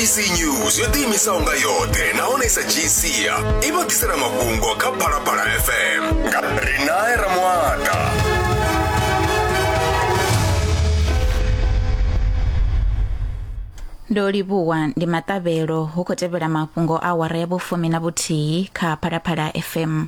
SABC News yo ḓiimisaho nga yoṱhe nahone sa dzhii sia i vha ḓisela mafhungo kha Phalaphala FM nga Rinae Ramuata. Ndo livhuwa ndi maṱavhelo hu khou tevhela mafhungo a awara ya vhufumi na vhuthihi kha Phalaphala FM.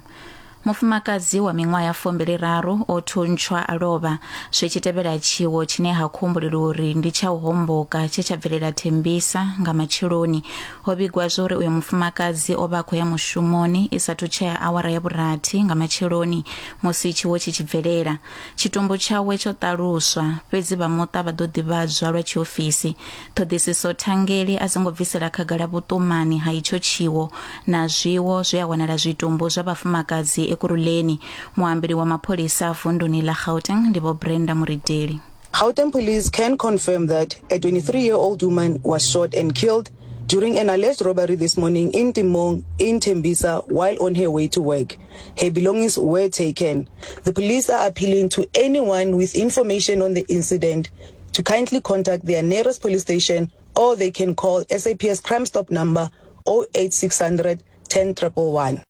Mufumakadzi wa miṅwaha ya 23 o thuntshwa a lovha zwi tshi tevhela tshiwo tshine ha khou humbulelwa uri ndi tsha u homboka tshe tsha bvelela Thembisa nga matsheloni. Ho vhigwa zwa uri uyo mufumakadzi o vha a khou ya mushumoni i sathu tshea awara ya vhurathi nga matsheloni musi tshiwo tshi tshi bvelela. Tshitumbu tshawe tsho ṱaluswa, fhedzi vha muṱa vha ḓo ḓivhadzwa lwa tshiofisi. Ṱhoḓisiso thangeli a dzi ngo bvisela khagala vhuṱumani ha itsho tshiwo na zwiwo zwe ha wanala zwitumbu zwa vhafumakadzi Ekurhuleni. Muambeli wa mapholisa vunduni ḽa Gauteng ndi Vho Brenda Murideli. Gauteng police can confirm that a 23-year-old woman was shot and killed during an alleged robbery this morning in Timong in Tembisa while on her way to work. Her belongings were taken. The police are appealing to anyone with information on the incident to kindly contact their nearest police station or they can call SAPS Crime Stop number 08600 10111.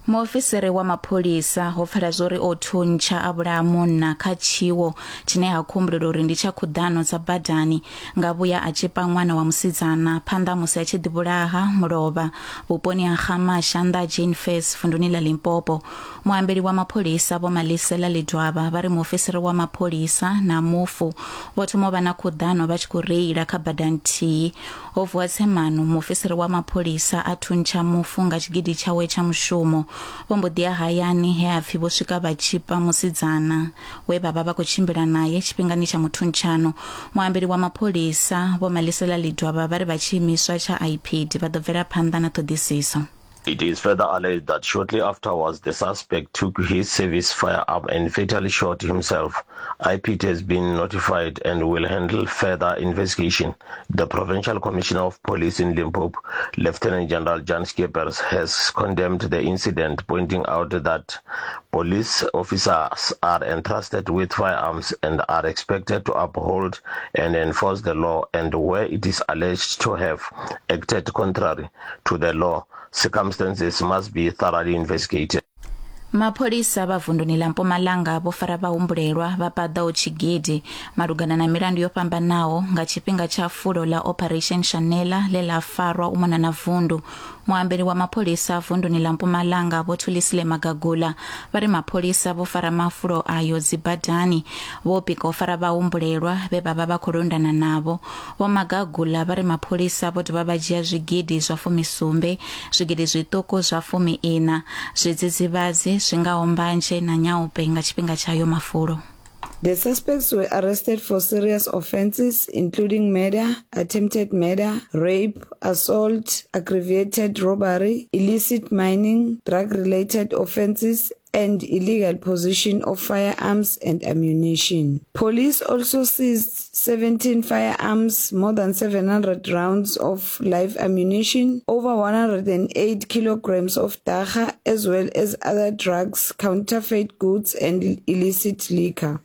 Muofisiri wa mapholisa ho pfala zwori o thuntsha a vhulaha munna kha tshiwo tshine ha khou humbulelwa uri ndi tsha khuḓano dza badani nga vhuya a tshipa ṅwana wa musidzana phanḓa musi a tshi ḓivhulaha mulovha vhuponi ha Gamasha nnḓa ha Jane Furse vunduni ḽa Limpopo. Muambeli wa mapholisa Vho Malisela Ledwaba vha ri muofisiri wa mapholisa na mufu vho thoma u vha na khuḓano vha tshi khou reila kha bada nthihi. Ho vuwa tsemano, muofisiri wa mapholisa a thuntsha mufu nga tshigidi tshawe tsha mushumo. Vho mbo ḓi ya hayani he ha pfi vho swika vha tshipa musidzana we vha vha vha khou tshimbila nae tshifhingani tsha muthuntshano. Muambeli wa mapholisa Vho Malisela Ledwaba vha ri vha tshiimiswa tsha IPID vha ḓo bvela phanḓa na ṱhoḓisiso. It is further alleged that shortly afterwards the suspect took his service firearm and fatally shot himself. IPID has been notified and will handle further investigation. The Provincial Commissioner of Police in Limpopo, Lieutenant General Jan Skeepers, has condemned the incident, pointing out that police officers are entrusted with firearms and are expected to uphold and enforce the law, and where it is alleged to have acted contrary to the law, circumstances must be thoroughly investigated. Mapholisa vha vunduni ḽa Mpumalanga vho fara vhahumbulelwa vha paḓaho tshigidi malugana na milandu yo fhambanaho nga tshifhinga tsha fulo ḽa Operation Shanela ḽe ḽa farwa u mona na vundu. Muambeli wa mapholisa vunduni ḽa Mpumalanga Vho Thulisile Magagula vha ri mapholisa vho fara mafulo ayo dzibadani vho pika u fara vhahumbulelwa vhe vha vha vha khou londana navho. Vho Magagula vha ri mapholisa vho dovha vha dzhia zwigidi zwa fumisumbe, zwigidi zwiṱuku zwa fumi-iṋa, zwidzidzivhadzi zwi ngaho mbanzhe na nyaope nga tshifhinga tsha ayo mafulo. The suspects were arrested for serious offences including murder, attempted murder, rape, assault, aggravated robbery, illicit mining, drug-related offences and illegal possession of firearms and ammunition. Police also seized 17 firearms, more than 700 rounds of live ammunition, over 108 kilograms of dagga, as well as other drugs, counterfeit goods and illicit liquor.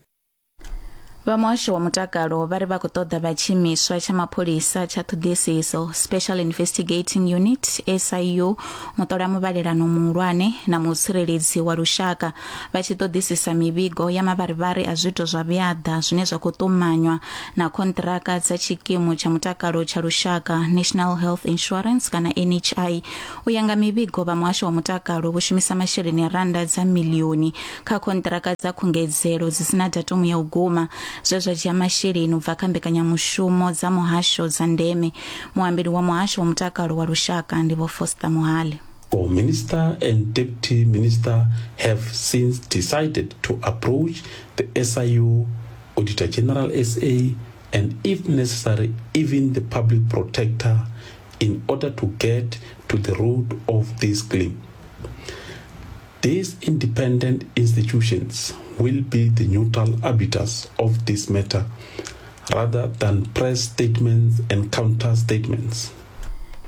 Vha muhasho wa mutakalo vha ri vha khou ṱoḓa vha tshiimiswa tsha mapholisa tsha ṱhoḓisiso Special Investigating Unit SIU muṱola muvhalelano muhulwane na mutsireledzi wa lushaka vha tshi ṱoḓisisa mivhigo ya mavharivhari a zwiito zwa vhuaḓa zwine zwa khou ṱumanywa na khonṱiraka dza tshikimu tsha mutakalo tsha lushaka National Health Insurance kana NHI U ya nga mivhigo, vha muhasho wa mutakalo vho shumisa masheleni a rannda dza miḽioni kha khonṱiraka dza khungedzelo dzi si na datumu ya u guma, zwe zwa dzhia masheleni u bva kha mbekanyamushumo dza muhasho dza ndeme. Muambeli wa muhasho wa mutakalo wa lushaka ndi Vho Foster Mohale. Our Minister and Deputy Minister have since decided to approach the SIU, Auditor General SA and if necessary even the Public Protector in order to get to the root of this claim. These independent institutions will be the neutral arbiters of this matter rather than press statements and counter statements.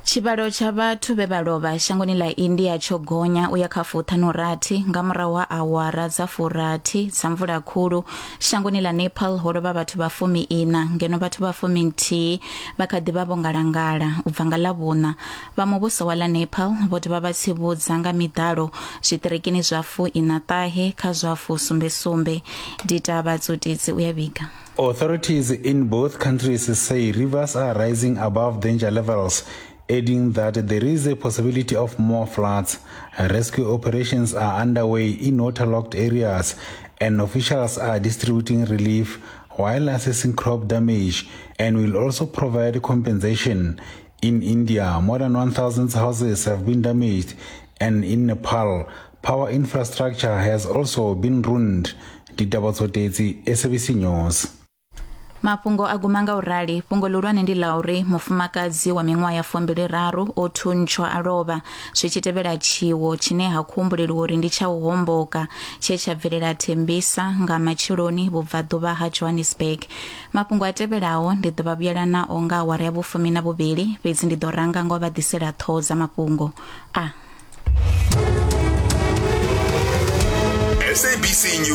Tshivhalo tsha vhathu vhe vha lovha shangoni ḽa India tsho gonya u ya kha fuṱhanu-rathi nga murahu ha awara dza furathi dza mvula khulu. Shangoni ḽa Nepal ho lovha vhathu vha fumi-iṋa ngeno vhathu vha fumi-nthihi vha kha ḓi vha vho ngalangala u bva nga Ḽavhuṋa. Vha muvhuso wa ḽa Nepal vho dovha vha tsivhudza nga miḓalo zwiṱirikini zwa fuiṋa-ṱahe kha zwa fusumbe-sumbe. Ditaba Tsotitsi u ya vhiga. Authorities in both countries say rivers are rising above danger levels, adding that there is a possibility of more floods. Rescue operations are underway in waterlogged areas, and officials are distributing relief while assessing crop damage and will also provide compensation. In India, more than 1,000 houses have been damaged, and in Nepal, power infrastructure has also been ruined. Ditaba Tsotetsi, SABC News. Mafhungo a guma nga u rali. Fhungo ḽihulwane ndi ḽa uri mufumakadzi wa miṅwaha ya fumbili-raru o thuntshwa a lovha zwi tshi tevhela tshiwo tshine ha khou humbuleliwa uri ndi tsha u homboka tshe tsha bvelela Thembisa nga matsheloni vhubvaḓuvha ha Johannesburg. Mafhungo a tevhelaho ndi ḓo vha vhuyela nao nga awara ya vhufumi na vhuvhili, fhedzi ndi ḓo ranga nga u vha ḓisela ṱhoho dza mafhungo a. SABC News.